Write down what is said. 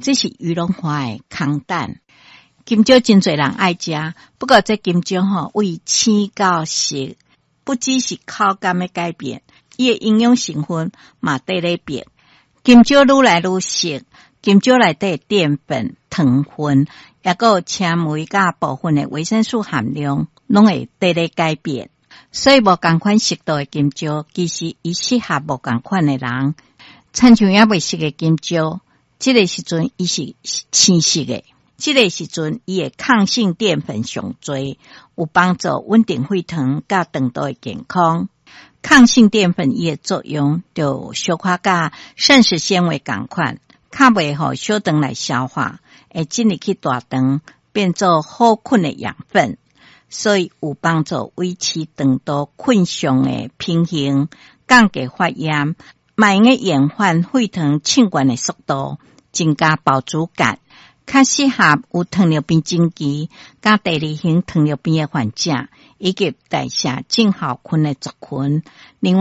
這是魚龍花的空蛋。金蕉真濟人愛食，不過這金蕉吼為青到熟，不只是口感的改變，伊的營養成分嘛綴咧變。金蕉愈來愈熟，金蕉內底澱粉、糖分，抑閣有纖維佮部分的維生素含量，攏會綴咧改變。所以無仝款熟度的金蕉，其實伊適合無仝款的人。親像猶未熟的金蕉，這个時陣伊是青色的，這个時陣伊的抗性澱粉上濟，有幫助穩定血糖佮腸道的健康。抗性澱粉伊的作用就小可佮膳食纖維仝款，較袂予小腸來消化，會進入去大腸變做好菌的養分，所以有幫助維持腸道菌相的平衡，降低發炎，嘛會用延緩血糖升懸的速度，增加飽足感，較適合有糖尿病前期佮第二型糖尿病的患者，以及代謝症候群的族群。另外，